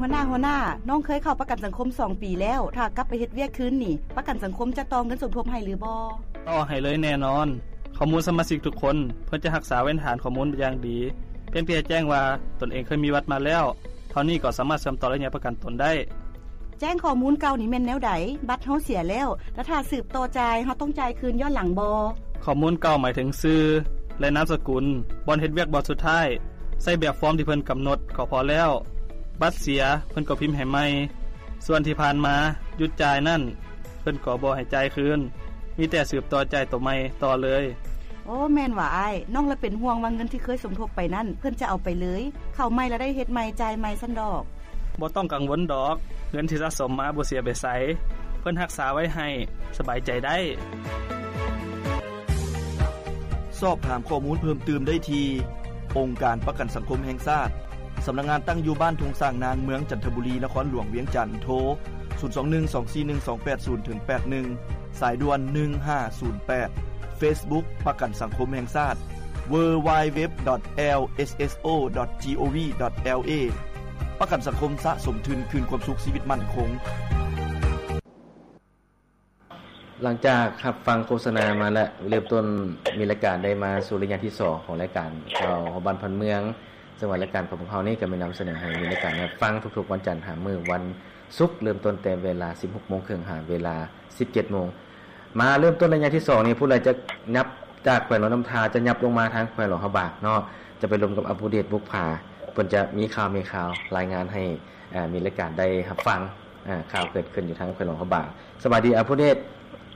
ຫົວໜ້າ, ຫົວໜ້າ, ນ້ອງເຄີຍເຂົ້າປະກັນສັງຄົມສອງປີແລ້ວ, ຖ້າກັບໄປເຮັດວຽກຄືນນີ້, ປະກັນສັງຄົມຈະຕໍ່ເງິນສົມທົບໃຫ້ຫຼືບໍ່? ຕໍ່ໃຫ້ເລີຍແນ່ນອນ. ຂໍ້ມູນສະມາຊິກທຸກຄົນ ເພິ່ນຈະຮັກສາໄວ້ໃນຖານຂໍ້ມູນຢ່າງດີ. ພຽງແຕ່ແຈ້ງວ່າຕົນເອງເຄີຍມີບັດມາແລ້ວ, ເທົ່ານີ້ກໍສາມາດເຊື່ອມຕໍ່ໄລຍະປະກັນຕົນໄດ້. ແຈ້ງຂໍ້ມູນເກົ່ານີ້ແມ່ນແນວໃດ? ບັດເຮົາເສຍແລ້ວ, ແລະ ຖ້າສືບຕໍ່ຈ່າຍ, ເຮົາຕ້ອງຈ່າຍຄືນຍ້ອນຫຼັງບໍ່? ຂໍ້ມູນເກົ່າໝາຍເຖິງຊື່ ແລະ ນາມສະກຸນ, ບ່ອນເຮັດວຽກບ່ອນສຸດທ້າຍ, ໃຊ້ແບບຟອມທີ່ເພິ່ນກຳນົດກໍພໍແລ້ວ. ບັດເສຍ, ເພິ່ນກໍພິມໃຫ້ໃໝ່. ສ່ວນທີ່ຜ່ານມາຢຸດຈ່າຍນັ້ນ, ເພິ່ນກໍບໍ່ໃຫ້ຈ່າຍຄືນ, ມີແຕ່ສືບຕໍ່ຈ່າຍໂຕໃໝ່ຕໍ່ເລີຍ. ໂອ້ ແມ່ນຫວາອ້າຍ. ນ້ອງລະເປັນຫ່ວງວ່າເງິນທີ່ເຄີຍສົມທົບໄປນັ້ນ ເພິ່ນຈະເອົາໄປເລີຍ, ເຂົ້າໃໝ່ລະໄດ້ເຮັດໃໝ່, ຈ່າຍໃໝ່ຊັ້ນດອກ. ບໍ່ຕ້ອງກັງວົນດອກ, ເງິນທີ່ສະສົມມາບໍ່ເສຍໄປໃສ, ເພິ່ນຮັກສາໄວ້ໃຫ້, ສະບາຍໃຈໄດ້. ສອບຖາມຂໍ້ມູນເພີ່ມຕື່ມໄດ້ທີ່ ອົງການປະກັນສັງຄົມແຫ່ງຊາດ, ສຳນັກງານຕັ້ງຢູ່ບ້ານທົ່ງຊ້າງນາງ, ເມືອງຈັນທະບູລີ, ນະຄອນຫຼວງວຽງຈັນ, ໂທ ສູນສອງໜຶ່ງ ສອງສີ່ໜຶ່ງ ສອງແປດສູນ ເຖິງ ແປດໜຶ່ງ, ສາຍດ່ວນ ໜຶ່ງຫ້າສູນແປດ, Facebook ປະກັນສັງຄົມແຫ່ງຊາດ www.lsso.gov.la ປະກັນສັງຄົມສະສົມທຶນຄືນຄວາມສຸກຊີວິດໝັ້ນຄົງ. ຫຼັງຈາກຮັບຟັງໂຄສະນາມາແລ້ວ, ເລີ່ມຕົ້ນມີລາຍການໄດ້ມາສູ່ໄລຍະທີສອງຂອງລາຍການຂ່າວຮອບບ້ານພັນເມືອງ, ເຊິ່ງວ່າລາຍການຂອງພວກເຮົານີ້ກໍມີນຳສະເໜີໃຫ້ມີລາຍການຮັບຟັງທຸກໆວັນຈັນຫາມື້ວັນສຸກ, ເລີ່ມຕົ້ນແຕ່ເວລາສິບຫົກໂມງເຄິ່ງຫາເວລາສິບເຈັດໂມງ. ມາເລີ່ມຕົ້ນໄລຍະທີສອງນີ້, ຜູ້ໃດຈະຫຍັບຈາກແຂວງຫຼວງນ້ຳທາ ຈະຫຍັບລົງມາທາງແຂວງຫຼວງພະບາງເນາະ, ຈະໄປລົມກັບອາພູເດດ ບຸກຜາ, ເພິ່ນຈະມີຂ່າວ ມີຂ່າວລາຍງານໃຫ້ ອ່າ ມີລາຍການໄດ້ຮັບຟັງ ອ່າ ຂ່າວເກີດຂຶ້ນຢູ່ທາງແຂວງຫຼວງພະບາງ. ສະບາຍດີ ອາພູເດດ.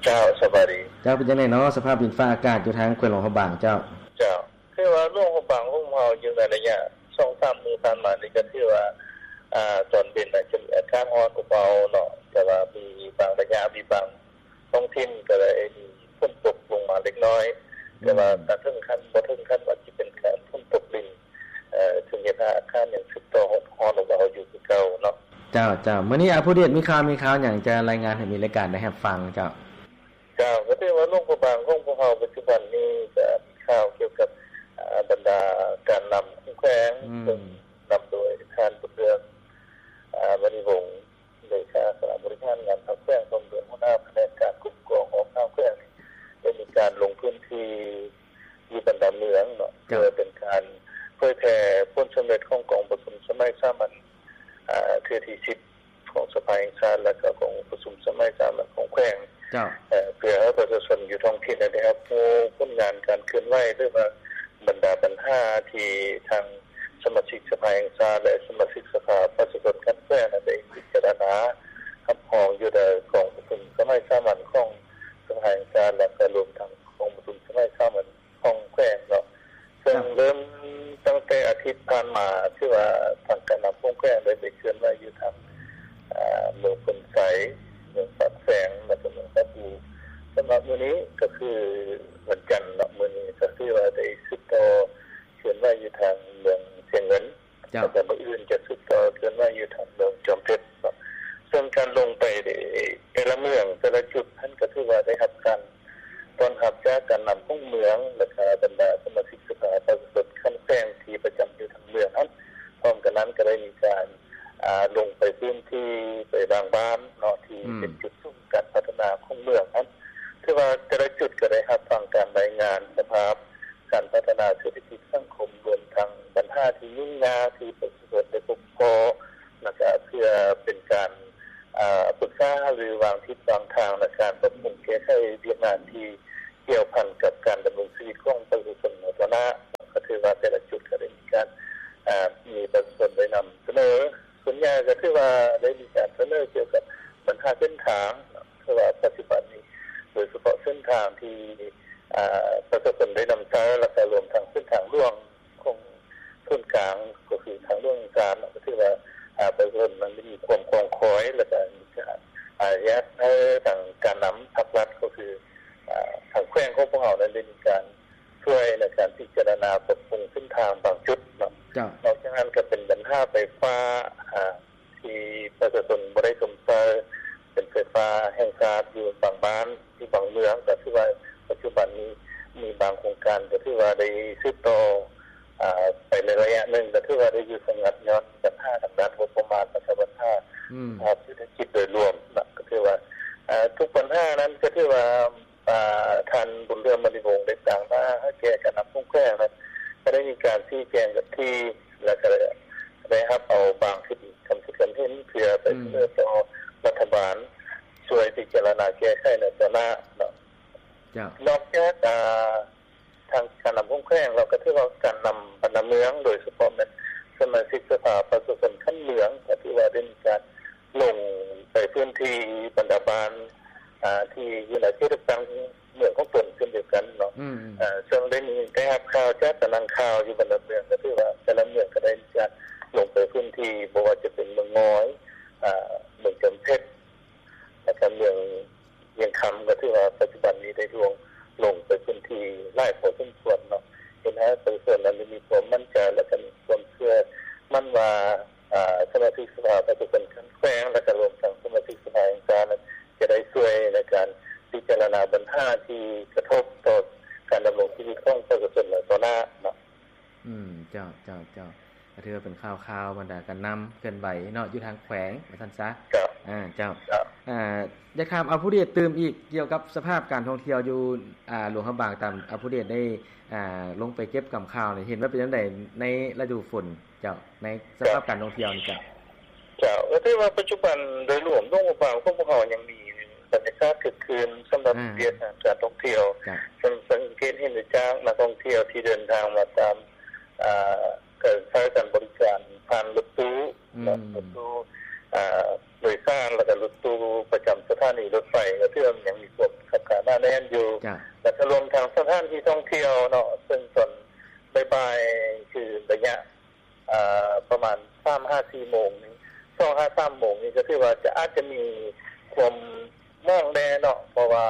ເຈົ້າ ສະບາຍດີ. ເຈົ້າ ເປັນຈັ່ງໃດເນາະ ສະພາບດິນຟ້າອາກາດຢູ່ທາງແຂວງຫຼວງພະບາງ? ເຈົ້າ ເຈົ້າ ຖືວ່າຫຼວງພະບາງຂອງເຮົາຢູ່ໃນໄລຍະສອງສາມມື້ຜ່ານມານີ້ ກໍຖືວ່າ ອ່າ ຕອນເວັນອາດຈະມີອາກາດຮ້ອນອົບເອົາເນາະ, ແຕ່ວ່າມີບາງໄລຍະ ມີບາງທ້ອງຖິ່ນກໍໄດ້ມີຝົນຕົກລົງມາເລັກນ້ອຍ, ແຕ່ວ່າ ອືມ ກໍເຖິງຂັ້ນ ບໍ່ເຖິງຂັ້ນວ່າຊິເປັນການຝົນຕົກລິນ ເອີ ເຊິ່ງເຮັດໃຫ້ອາກາດຍັງສືບຕໍ່ຮ້ອນ ຮ້ອນອົບເອົາຢູ່ຄືເກົ່າເນາະ. ເຈົ້າ ເຈົ້າ. ມື້ນີ້ອາພູເດດມີຂ່າວ ມີຂ່າວຫຍັງຈະລາຍງານໃຫ້ມີລາຍການໄດ້ຮັບຟັງເຈົ້າ? ເຈົ້າ ກໍຖືວ່າຫຼວງພະບາງຂອງພວກເຮົາປັດຈຸບັນນີ້ກໍມີຂ່າວກ່ຽວກັບ ອາ ບັນດາການນຳຂອງແຂວງ ອືມ ເຊິ່ງນຳໂດຍທ່ານ ບຸນເຮືອງ ອາ ມະນີວົງ ເລຂາຄະນະບໍລິຫານງານພັກແຂວງ ພ້ອມດ້ວຍຫົວໜ້າພະແນກການຄຸ້ມຄອງອອກນາມແຂວງນີ້ ໄດ້ມີການລົງພື້ນທີ່ຢູ່ບັນດາເມືອງເນາະ ເຈົ້າ ເພື່ອເປັນການເຜີຍແຜ່ຜົນສຳເລັດຂອງກອງປະຊຸມສະໄໝສາມັນ ອາ ເທື່ອທີສິບຂອງສະພາແຫ່ງຊາດ ແລະ ກໍກອງປະຊຸມສະໄໝສາມັນຂອງແຂວງ ເຈົ້າ ເອີ ເພື່ອໃຫ້ປະຊາຊົນຢູ່ທ້ອງຖິ່ນໄດ້ຮັບຮູ້ຜົນງານການເຄື່ອນໄຫວ ຫຼືວ່າບັນດາບັນຫາທີ່ທາງ ສະມາຊິກສະພາແຫ່ງຊາດ ແລະ ສະມາຊິກສະພາປະຊາຊົນຂັ້ນແຂວງນັ້ນໄດ້ພິຈາລະນາຮັບຮອງຢູ່ໃນກອງປະຊຸມສະໄໝສາມັນຂອງສະພາແຫ່ງຊາດ ແລະ ກໍລວມທັງກອງປະຊຸມສະໄໝສາມັນຂອງແຂວງເນາະ. ເຊິ່ງ ເຈົ້າ ເລີ່ມຕັ້ງແຕ່ອາທິດຜ່ານມາ ຖືວ່າທາງການນຳຂອງແຂວງໄດ້ໄປເຄື່ອນໄຫວຢູ່ທາງ ອາ ເມືອງໂພນໄຊ, ເມືອງປາກແຊງ ແລະ ກໍເມືອງທ່າປູ. ສຳລັບມື້ນີ້ກໍຄືວັນຈັນເນາະ, ມື້ນີ້ກໍຖືວ່າໄດ້ສືບຕໍ່ ເຄື່ອນໄຫວຢູ່ທາງເມືອງຊຽງເງິນ ເຈົ້າ ແລ້ວກໍມື້ອື່ນຈະສືບຕໍ່ເຄື່ອນໄຫວຢູ່ທາງເມືອງຈອມເພັດເນາະ. ເຊິ່ງການລົງໄປແຕ່ລະເມືອງ ແຕ່ລະຈຸດຫັ້ນ ກໍຖືວ່າໄດ້ຮັບການຕ້ອນຮັບຈາກການນຳຂອງເມືອງ ແລ້ວກໍບັນດາສະມາຊິກສະພາປະຊາຊົນຂັ້ນແຂວງທີ່ປະຈຳຢູ່ທາງເມືອງຫັ້ນ. ພ້ອມກັນນັ້ນກໍໄດ້ມີການ ອາ ລົງໄປພື້ນທີ່ ໄປບາງບ້ານເນາະ ທີ່ ອືມ ເປັນຈຸດສູນການພັດທະນາຂອງເມືອງຫັ້ນ. ຖືວ່າແຕ່ລະຈຸດກໍໄດ້ຮັບຟັງການລາຍງານສະພາບ ການພັດທະນາເສດຖະກິດສັງຄົມ ລວມທັງບັນຫາທີ່ຫຍຸ້ງຍາກທີ່ປະຊາຊົນໄດ້ພົບພໍ້ ແລ້ວກະເພື່ອເປັນການ ອາ ປຶກສາຫາລືວາງທິດວາງທາງ ແລະ ການປັບປຸງແກ້ໄຂວຽກງານທີ່ກ່ຽວພັນກັບການດຳລົງຊີວິດຂອງປະຊາຊົນໃນຕໍ່ໜ້າ. ກໍຖືວ່າແຕ່ລະຈຸດກໍໄດ້ມີການ ອາ ມີປະຊາຊົນໄດ້ນຳສະເໜີ ສ່ວນໃຫຍ່ກໍຖືວ່າໄດ້ມີການສະເໜີກ່ຽວກັບບັນຫາເສັ້ນທາງ ເພາະວ່າປັດຈຸບັນນີ້ ໂດຍສະເພາະເສັ້ນທາງທີ່ ອາ ປະຊາຊົນໄດ້ນຳໃຊ້ ແລ້ວກໍລວມທັງເສັ້ນທາງຫຼວງຂອງສູນກາງ ກໍຄືທາງຫຼວງວຽງຈັນ ກໍຖືວ່າ ອາ ປະຊາຊົນນັ້ນໄດ້ມີຄວາມຄອງຄອຍ ແລ້ວກໍມີການ ອາ ຢາກໃຫ້ທາງການນຳພາກລັດ ກໍຄື ອາ ທາງແຂວງຂອງພວກເຮົານັ້ນໄດ້ມີການຊ່ວຍໃນການພິຈາລະນາປັບປຸງເສັ້ນທາງບາງຈຸດເນາະ. ເຈົ້າ. ນອກຈາກນັ້ນກໍເປັນບັນຫາໄຟຟ້າ ອາ ທີ່ປະຊາຊົນບໍ່ໄດ້ຊົມໃຊ້ ເປັນໄຟຟ້າແຫ່ງຊາດຢູ່ບາງບ້ານ ຢູ່ບາງເມືອງ ກໍຖືວ່າປັດຈຸບັນນີ້ມີບາງໂຄງການກໍຖືວ່າໄດ້ສືບຕໍ່ ອາ ໄປໃນໄລຍະໜຶ່ງ ກໍຖືວ່າໄດ້ຢຸດສະງັກຍ້ອນບັນຫາທາງດ້ານງົບປະມານ ແລ້ວກໍ ອືມ ສະພາບເສດຖະກິດໂດຍລວມນະ ກໍຖືວ່າ ເອີ ທຸກບັນຫານັ້ນກໍຖືວ່າ ອ່າ ທ່ານບຸນເຫຼືອມ ມະນີວົງ ໄດ້ຕາງໜ້າໃຫ້ແກ່ການນຳຂອງແຂວງນັ້ນ ກໍໄດ້ມີການຊີ້ແຈງກັນທີ່ ແລ້ວກໍໄດ້ຮັບເອົາບາງສິດຄຳຄິດຄຳເຫັນ ເພື່ອໄປສະເໜີ ອືມ ຕໍ່ລັດຖະບານ ຊ່ວຍພິຈາລະນາແກ້ໄຂໃນຕໍ່ໜ້າເນາະ. ເຈົ້າ ນອກຈາກ ອ່າ ທາງການນຳຂອງແຂວງ ແລ້ວກໍຖືວ່າການນຳບັນດາເມືອງ ໂດຍສະເພາະແມ່ນສະມາຊິກສະພາປະຊາຊົນຂັ້ນເມືອງ ກໍຖືວ່າໄດ້ມີການລົງໄປພື້ນທີ່ບັນດາບ້ານ ອ່າ ທີ່ຢູ່ໃນເຂດເລືອກຕັ້ງເມືອງຂອງຕົນເຊັ່ນດຽວກັນເນາະ. ອືມ ເຊິ່ງໄດ້ມີ ໄດ້ຮັບຂ່າວຈາກຕາໜ່າງຂ່າວຢູ່ບັນດາເມືອງ ກໍຖືວ່າແຕ່ລະເມືອງກໍໄດ້ມີການລົງໄປພື້ນທີ່ ບໍ່ວ່າຈະເປັນເມືອງງອຍ ອ່າ ເມືອງຈຳເພັດ ແລ້ວກໍເມືອງວຽງຄຳ ກໍຖືວ່າປັດຈຸບັນນີ້ໄດ້ລວງ ລົງໄປພື້ນທີ່ຫຼາຍພໍສົມຄວນເນາະ ເຮັດໃຫ້ປະຊາຊົນນັ້ນໄດ້ມີຄວາມໝັ້ນໃຈ ແລ້ວກໍມີຄວາມເຊື່ອໝັ້ນວ່າ ອາ ສະມາຊິກສະພາປະຊາຊົນຂັ້ນແຂວງ ແລ້ວກໍລວມທັງສະມາຊິກສະພາແຫ່ງຊາດນັ້ນ ຈະໄດ້ຊ່ວຍໃນການພິຈາລະນາບັນຫາທີ່ກະທົບຕໍ່ການດຳລົງຊີວິດຂອງປະຊາຊົນໃນຕໍ່ໜ້າເນາະ. ອືມ ເຈົ້າ ເຈົ້າ ເຈົ້າ ກໍຖືວ່າເປັນຂ່າວຄາວບັນດາການນຳເຄື່ອນໄຫວເນາະ ຢູ່ທາງແຂວງວ່າຊັ້ນຊະ. ເຈົ້າ ອາ ເຈົ້າ ເຈົ້າ ອາ ຢາກຖາມອາຜູ້ເດດຕື່ມອີກກ່ຽວກັບສະພາບການທ່ອງທ່ຽວຢູ່ ອາ ຫຼວງພະບາງ ຕາມອາຜູ້ເດດໄດ້ ອາ ລົງໄປເກັບກຳຂ່າວນີ້ ເຫັນວ່າເປັນຈັ່ງໃດໃນລະດູຝົນເຈົ້າ ໃນສະພາບການທ່ອງທ່ຽວນີ້ເຈົ້າ? ເຈົ້າ ກໍຖືວ່າປັດຈຸບັນໂດຍລວມຫຼວງພະບາງຂອງພວກເຮົາຍັງມີບັນຍາກາດຄຶກຄື້ນສຳລັບ ອາ ວຽກງານການທ່ອງທ່ຽວ ເຈົ້າ ເຊິ່ງສັງເກດເຫັນໄດ້ຈາກນັກທ່ອງທ່ຽວທີ່ເດີນທາງມາຕາມ ອາ ການໃຊ້ການບໍລິການຜ່ານລົດຕູ້ ອືມ ເນາະ ລົດຕູ້ ອາ ໂດຍສານ ແລ້ວກໍລົດຕູ້ປະຈຳສະຖານີລົດໄຟ ກໍຖືວ່າຍັງມີຄວາມຄັບຄາໜາແໜ້ນຢູ່ ເຈົ້າ ແລ້ວກໍລວມທັງສະຖານທີ່ທ່ອງທ່ຽວເນາະ ເຊິ່ງຕອນບ່າຍໆ ຄືໄລຍະ ອາ ປະມານສາມຫາສີ່ໂມງນີ້ ສອງຫາສາມໂມງນີ້ ກໍຖືວ່າຈະ ອາດຈະມີຄວາມ ໝອງແດ່ເນາະ ເພາະວ່າ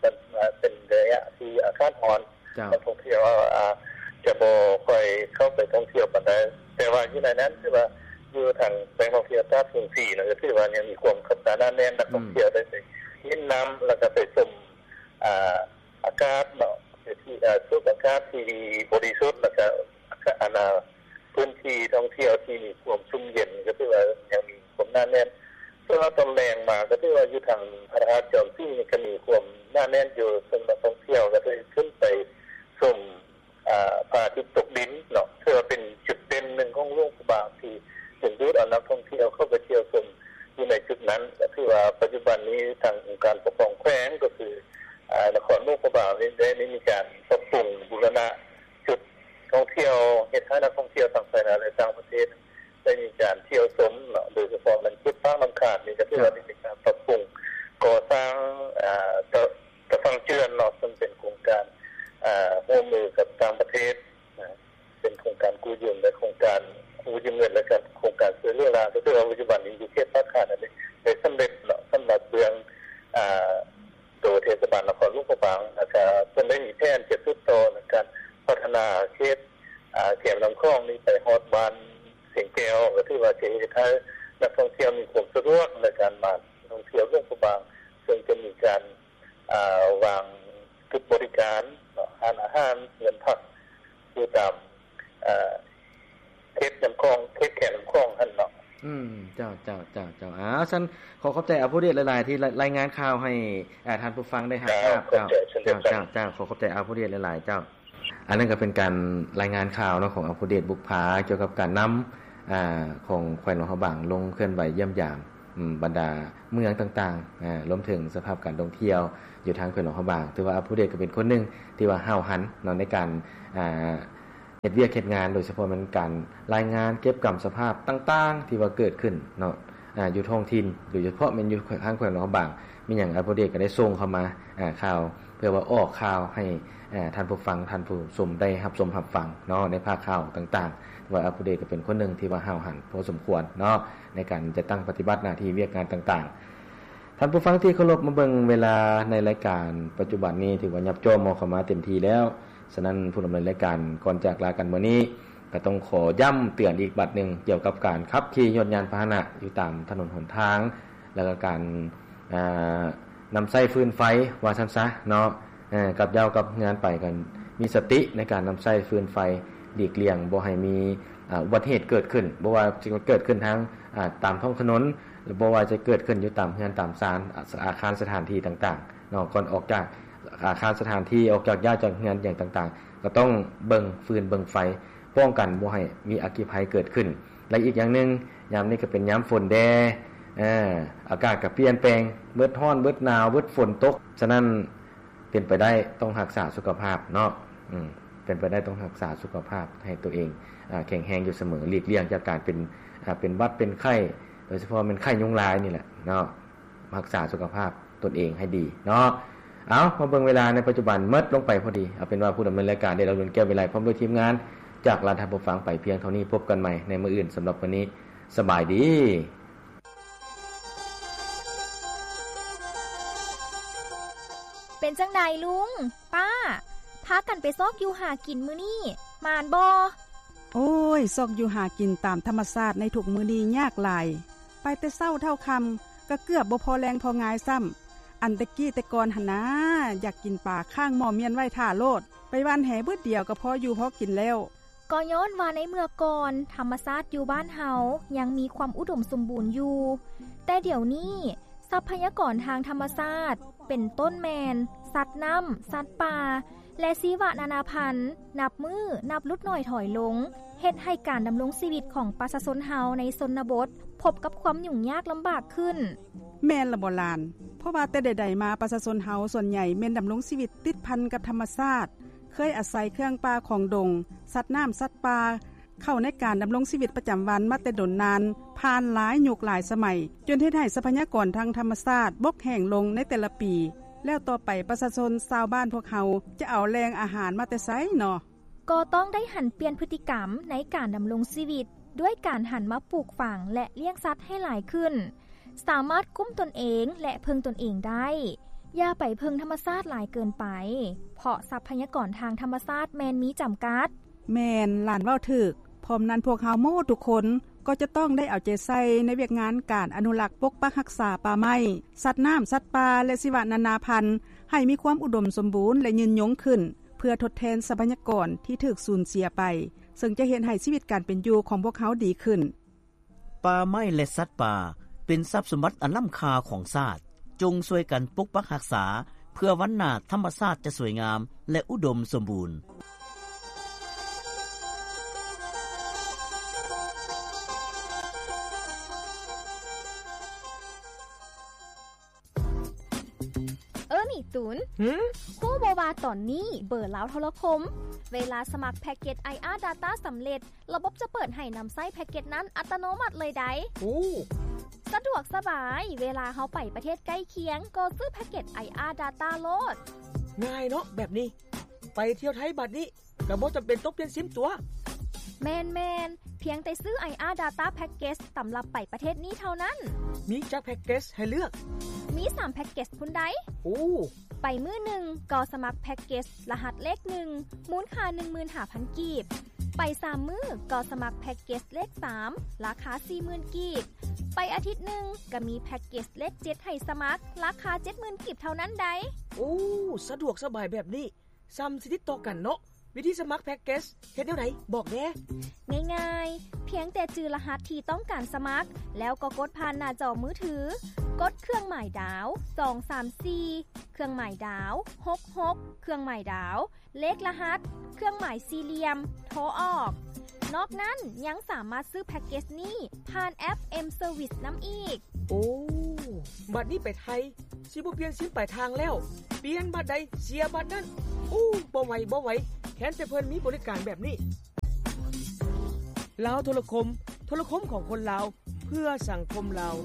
ມັນ ເປັນໄລຍະທີ່ອາກາດຮ້ອນ ເຈົ້າ ນັກທ່ອງທ່ຽວ ອາ ຈະບໍ່ຄ່ອຍເຂົ້າໄປທ່ອງທ່ຽວປານໃດ. ແຕ່ວ່າຢູ່ໃນນັ້ນ ຖືວ່າຢູ່ທາງແຫຼ່ງທ່ອງທ່ຽວຕາດສົງສີນະ ກໍຖືວ່າຍັງມີຄວາມຄັບຄາໜາແໜ້ນ ນັກທ່ອງທ່ຽວ ອືມ ໄດ້ໄປຫຼິ້ນນ້ຳ ແລ້ວກໍໄປຊົມ ອາ ອາກາດເນາະ ທີ່ ອາ ສູດອາກາດທີ່ບໍລິສຸດ ແລ້ວກໍ ອາ ອາ ພື້ນທີ່ທ່ອງທ່ຽວທີ່ມີຄວາມຊຸ່ມເຢັນ ກໍຖືວ່າຍັງມີຄວາມໜາແໜ້ນ. ສ່ວນວ່າຕອນແລງມາ ກໍຖືວ່າຢູ່ທາງພະທາດຈອມສີນີ້ກໍມີຄວາມໜາແໜ້ນຢູ່ ເຊິ່ງນັກທ່ອງທ່ຽວກໍໄດ້ຂຶ້ນໄປຊົມ ອາ ພະອາທິດຕົກດິນເນາະ ຖືວ່າເປັນຈຸດເດັ່ນໜຶ່ງຂອງຫຼວງພະບາງ ທີ່ດຶງດູດເອົານັກທ່ອງທ່ຽວເຂົ້າໄປທ່ຽວຊົມຢູ່ໃນຈຸດນັ້ນ. ກໍຖືວ່າປັດຈຸບັນນີ້ທາງອົງການປົກຄອງແຂວງ ກໍຄື ອາ ນະຄອນຫຼວງພະບາງນີ້ໄດ້ ໄດ້ມີການປັບປຸງບູລະນະຈຸດທ່ອງທ່ຽວ ເຮັດໃຫ້ນັກທ່ອງທ່ຽວທັງພາຍໃນ ແລະ ຕ່າງປະເທດ ໄດ້ມີການທ່ຽວຊົມເນາະ ໂດຍສະເພາະແມ່ນເຂດປາກນ້ຳຂາດນີ້ ກໍຖືວ່າ ເຈົ້າ ໄດ້ມີການປັບປຸງກໍ່ສ້າງ ອາ ຕະ ຕະຝັ່ງເຈື່ອນເນາະ ເຊິ່ງເປັນໂຄງການ ອາ ຮ່ວມມືກັບຕ່າງປະເທດນະ ເປັນໂຄງການກູ້ຢືມ ແລະ ໂຄງການກູ້ຢືມເງິນ ແລະ ການ ໂຄງການຊ່ວຍເຫຼືອຫຼ້ານ ກໍຖືວ່າປັດຈຸບັນນີ້ຢູ່ເຂດປາກຂາດນັ້ນໄດ້ ໄດ້ສຳເລັດເນາະ ສຳລັບເລື່ອງ ອາ ໂຕເທດສະບານນະຄອນຫຼວງພະບາງ ແລ້ວກະເພິ່ນໄດ້ມີແຜນຈະສືບຕໍ່ໃນການພັດທະນາເຂດ ອາ ແຄມນ້ຳຂອງນີ້ໄປຮອດບ້ານຊຽງແກ້ວ ກໍຖືວ່າຈະເຮັດໃຫ້ນັກທ່ອງທ່ຽວມີຄວາມສະດວກໃນການມາທ່ອງທ່ຽວຫຼວງພະບາງ ເຊິ່ງຈະມີການ ອາ ວາງຈຸດບໍລິການເນາະ ຮ້ານອາຫານ ເຮືອນພັກ ຢູ່ຕາມ ເອີ ເຂດນ້ຳຂອງ ເຂດແຄມນ້ຳຂອງຫັ້ນເນາະ. ອືມ ເຈົ້າ ເຈົ້າ ເຈົ້າ ເຈົ້າ. ອ້າວ ຊັ້ນຂໍຂອບໃຈອາຜູ້ເດດຫຼາຍໆ ທີ່ລາຍ ລາຍງານຂ່າວໃຫ້ ອາ ທ່ານຜູ້ຟັງໄດ້ຮັບຊາບ. ເຈົ້າ ເຈົ້າ ເຈົ້າ ເຈົ້າ ເຈົ້າ ຂໍຂອບໃຈອາຜູ້ເດດຫຼາຍໆ ເຈົ້າ. ອັນນັ້ນກໍເປັນການລາຍງານຂ່າວເນາະ ຂອງອາຜູ້ເດດບຸບຜາ ກ່ຽວກັບການນຳ ອາ ຂອງແຂວງຫຼວງພະບາງ ລົງເຄື່ອນໄຫວຢ້ຽມຢາມ ອືມ ບັນດາເມືອງຕ່າງໆ ອາ ລວມເຖິງສະພາບການທ່ອງທ່ຽວຢູ່ທາງແຂວງຫຼວງພະບາງ. ຖືວ່າອາຜູ້ເດດກໍເປັນຄົນໜຶ່ງທີ່ວ່າຫ້າວຫັນເນາະ ໃນການ ອາ ເຮັດວຽກເຮັດງານ ໂດຍສະເພາະແມ່ນການລາຍງານເກັບກຳສະພາບຕ່າງໆ ທີ່ວ່າເກີດຂຶ້ນເນາະ ອາ ຢູ່ທ້ອງຖິ່ນ ໂດຍສະເພາະແມ່ນຢູ່ທາງແຂວງຫຼວງພະບາງ. ມີຫຍັງອາຜູ້ເດດກໍໄດ້ສົ່ງເຂົ້າມາ ອາ ຂ່າວ ເພື່ອວ່າອອກຂ່າວໃຫ້ ອາ ທ່ານຜູ້ຟັງ ທ່ານຜູ້ຊົມໄດ້ຮັບຊົມຮັບຟັງເນາະ ໃນພາກຂ່າວຕ່າງໆ. ວ່າອາຜູ້ເດດກໍເປັນຄົນໜຶ່ງທີ່ວ່າຫ້າວຫັນພໍສົມຄວນເນາະ ໃນການຈັດຕັ້ງປະຕິບັດໜ້າທີ່ວຽກງານຕ່າງໆ. ທ່ານຜູ້ຟັງທີ່ເຄົາລົບ, ມາເບິ່ງເວລາໃນລາຍການປັດຈຸບັນນີ້ ຖືວ່າຫຍັບຈໍ່ມອກເຂົ້າມາເຕັມທີ່ແລ້ວ. ສະນັ້ນ ຜູ້ດຳເນີນລາຍການ ກ່ອນຈາກລາກັນມື້ນີ້ ກໍຕ້ອງຂໍຢ້ຳເຕືອນອີກບັດໜຶ່ງ ກ່ຽວກັບການຂັບຂີ່ຍົນຍານພາຫະນະຢູ່ຕາມຖະໜົນຫົນທາງ ແລ້ວກໍການ ອ່າ ນຳໃຊ້ຟືນໄຟວ່າຊັ້ນຊະເນາະ ເອີ ກັບເຍົາກັບເຮືອນໄປ ກໍມີສະຕິໃນການນຳໃຊ້ຟືນໄຟ ຫຼີກລ່ຽງບໍ່ໃຫ້ມີ ອາ ອຸບັດຕິເຫດເກີດຂຶ້ນ, ບໍ່ວ່າຈະເກີດຂຶ້ນທາງ ອາ ຕາມທ້ອງຖະໜົນ ຫຼື ບໍ່ວ່າຈະເກີດຂຶ້ນຢູ່ຕາມເຮືອນຕາມຊານ ອາ ອາຄານສະຖານທີ່ຕ່າງໆເນາະ. ກ່ອນອອກຈາກອາຄານສະຖານທີ່, ອອກຈາກ ຍ້າຍຈາກເຮືອນຫຍັງຕ່າງໆ ກໍຕ້ອງເບິ່ງຟືນເບິ່ງໄຟ ປ້ອງກັນບໍ່ໃຫ້ມີອັກຄີໄພເກີດຂຶ້ນ. ແລະ ອີກຢ່າງໜຶ່ງ ຍາມນີ້ກໍເປັນຍາມຝົນແດ່ ເອີ ອາກາດກໍປ່ຽນແປງ, ເບິດຮ້ອນ ເບິດໜາວ ເບິດຝົນຕົກ. ສະນັ້ນ ເປັນໄປໄດ້ຕ້ອງຮັກສາສຸຂະພາບເນາະ, ເປັນໄປໄດ້ຕ້ອງຮັກສາສຸຂະພາບໃຫ້ຕົວເອງ ອາ ແຂງແຮງຢູ່ສະເໝີ, ຫຼີກລ່ຽງຈາກການເປັນ ອາ ເປັນຫວັດເປັນໄຂ້, ໂດຍສະເພາະແມ່ນໄຂ້ຍຸງລາຍນີ້ແຫຼະເນາະ, ຮັກສາສຸຂະພາບຕົນເອງໃຫ້ດີເນາະ. ເອົາ ມາເບິ່ງເວລາໃນປັດຈຸບັນໝົດລົງໄປພໍດີ. ເອົາເປັນວ່າຜູ້ດຳເນີນລາຍການ ເດດດາວ ລຸນແກ້ວ ວິໄລ ພ້ອມດ້ວຍທີມງານ ຈາກລາວໄທເຮົາ ເຮົາຟັງໄປພຽງເທົ່ານີ້. ພົບກັນໃໝ່ໃນມື້ອື່ນ. ສຳລັບມື້ນີ້ ສະບາຍດີ. ເປັນຈັ່ງໃດລຸງ ປ້າ ພາກັນໄປຊອກຢູ່ຫາກິນມື້ນີ້ ໝານບໍ່? ໂອ້ຍ ຊອກຢູ່ຫາກິນຕາມທຳມະຊາດໃນທຸກມື້ນີ້ຍາກຫຼາຍ. ໄປແຕ່ເຊົ້າເທົ່າຄ່ຳ ກໍເກືອບບໍ່ພໍແລງພໍງາຍຊ້ຳ. ອັນແຕ່ກີ້ແຕ່ກ່ອນຫັ້ນນາ ຢາກກິນປາຄ້າງໝໍ້ມ້ຽນໄວ້ຖ້າໂລດ, ໄປຫວ່ານແຫບຶດດຽວກໍພໍຢູ່ພໍກິນແລ້ວ. ກໍຍ້ອນວ່າໃນເມື່ອກ່ອນ ທຳມະຊາດຢູ່ບ້ານເຮົາຍັງມີຄວາມອຸດົມສົມບູນຢູ່, ແຕ່ດຽວນີ້ ຊັບພະຍາກອນທາງທຳມະຊາດ ເປັນຕົ້ນແມ່ນ ສັດນ້ຳ, ສັດປ່າ ແລະ ຊີວະນານາພັນ ນັບມື້ນັບຫຼຸດໜ້ອຍຖອຍລົງ, ເຮັດໃຫ້ການດຳລົງຊີວິດຂອງປະຊາຊົນເຮົາໃນຊົນນະບົດ ພົບກັບຄວາມຫຍຸ້ງຍາກລຳບາກຂຶ້ນ. ແມ່ນລະບໍ່ຫຼານ? ເພາະວ່າແຕ່ໃດໆມາ ປະຊາຊົນເຮົາສ່ວນໃຫຍ່ແມ່ນດຳລົງຊີວິດຕິດພັນກັບທຳມະຊາດ, ເຄີຍອາໄສເຄື່ອງປ່າຂອງດົງ, ສັດນ້ຳ, ສັດປ່າ ເຂົ້າໃນການດຳລົງຊີວິດປະຈຳວັນມາແຕ່ດົນນານ, ຜ່ານຫຼາຍຍຸກຫຼາຍສະໄໝ, ຈົນເຮັດໃຫ້ຊັບພະຍາກອນທາງທຳມະຊາດບົກແຫ້ງລົງໃນແຕ່ລະປີ, ແລ້ວຕໍ່ໄປປະຊາຊົນຊາວບ້ານພວກເຮົາຈະເອົາແຫຼ່ງອາຫານມາແຕ່ໃສເນາະ? ກໍຕ້ອງໄດ້ຫັນປ່ຽນພຶດຕິກຳໃນການດຳລົງຊີວິດ ດ້ວຍການຫັນມາປູກຝັງ ແລະ ລ້ຽງສັດໃຫ້ຫຼາຍຂຶ້ນ, ສາມາດກຸ້ມຕົນເອງ ແລະ ເພິ່ງຕົນເອງໄດ້. ຢ່າໄປເພິ່ງທຳມະຊາດຫຼາຍເກີນໄປ, ເພາະຊັບພະຍາກອນທາງທຳມະຊາດແມ່ນມີຈຳກັດ. ແມ່ນ, ຫຼານເວົ້າຖືກ. ພ້ອມນັ້ນ, ພວກເຮົາໝົດທຸກຄົນກໍຈະຕ້ອງໄດ້ເອົາໃຈໃສ່ໃນວຽກງານການອະນຸລັກປົກປັກຮັກສາປ່າໄມ້, ສັດນ້ຳ, ສັດປ່າ ແລະ ຊີວະນານາພັນ ໃຫ້ມີຄວາມອຸດົມສົມບູນ ແລະ ຍືນຍົງຂຶ້ນ, ເພື່ອທົດແທນຊັບພະຍາກອນທີ່ຖືກສູນເສຍໄປ, ເຊິ່ງຈະເຮັດໃຫ້ຊີວິດການເປັນຢູ່ຂອງພວກເຮົາດີຂຶ້ນ. ປ່າໄມ້ ແລະ ສັດປ່າ ເປັນຊັບສົມບັດອັນລ້ຳຄ່າຂອງຊາດ. ຈົ່ງຊ່ວຍກັນປົກປັກຮັກສາ ເພື່ອວັນໜ້າທຳມະຊາດຈະສວຍງາມ ແລະ ອຸດົມສົມບູນ. ເອີ ນີ້ຕູນ, ຫື? ຮູ້ບໍ່ວ່າຕອນນີ້ເບີລາວໂທລະຄົມ ເວລາສະໝັກແພັກເກັດ ໄອອາ Data ສຳເລັດ, ລະບົບຈະເປີດໃຫ້ນຳໃຊ້ແພັກເກັດນັ້ນອັດຕະໂນມັດເລີຍໃດ໋. ໂອ້ ສະດວກສະບາຍ, ເວລາເຮົາໄປປະເທດໃກ້ຄຽງ ກໍຊື້ແພັກເກັດ ໄອອາ Data ໂລດ. ງ່າຍເນາະແບບນີ້. ໄປທ່ຽວໄທບາດນີ້ ກໍບໍ່ຈຳເປັນຕ້ອງປ່ຽນຊິມຕົວະ? ແມ່ນໆ, ພຽງແຕ່ຊື້ ໄອອາ Data Package ສຳລັບໄປປະເທດນີ້ເທົ່ານັ້ນ. ມີຈັກແພັກເກັດໃຫ້ເລືອກ? ມີສາມແພັກເກັດພຸ້ນໃດ໋. ໂອ້ ໄປມື້ໜຶ່ງກໍສະໝັກແພັກເກັດລະຫັດເລກໜຶ່ງ ມູນຄ່າໜຶ່ງໝື່ນຫ້າພັນກີບ, ໄປສາມມື້ກໍສະໝັກແພັກເກັດເລກສາມ ລາຄາສີ່ໝື່ນກີບ, ໄປອາທິດໜຶ່ງກໍມີແພັກເກັດເລກເຈັດໃຫ້ສະໝັກ ລາຄາເຈັດໝື່ນກີບເທົ່ານັ້ນໃດ໋. ໂອ້ ສະດວກສະບາຍແບບນີ້. ສ່ຳຊິຕິດຕໍ່ກັນເນາະ. ວິທີສະໝັກແພັກເກັດເຮັດແນວໃດ? ບອກແດ່. ງ່າຍໆ, ພຽງແຕ່ຈື່ລະຫັດທີ່ຕ້ອງການສະໝັກ ແລ້ວກໍກົດຜ່ານໜ້າຈໍມືຖື, ກົດເຄື່ອງໝາຍດາວ ສອງສາມສີ່ ເຄື່ອງໝາຍດາວ ຫົກຫົກ ເຄື່ອງໝາຍດາວ ເລກລະຫັດ ເຄື່ອງໝາຍສີ່ຫຼ່ຽມ ໂທອອກ. ນອກນັ້ນຍັງສາມາດຊື້ແພັກເກັດນີ້ຜ່ານແອັບ M Service ນຳອີກ. ໂອ້ ບາດນີ້ໄປໄທ ຊິບໍ່ປ່ຽນຊິມປາຍທາງແລ້ວ, ປ່ຽນບາດໃດເສຍບາດນັ້ນ. ໂອ້ ບໍ່ໄຫວ ບໍ່ໄຫວ, ແຄ້ນແຕ່ເພິ່ນມີບໍລິການແບບນີ້. ລາວໂທລະຄົມ, ໂທລະຄົມຂອງຄົນລາວ ເພື່ອສັງຄົມລາວ.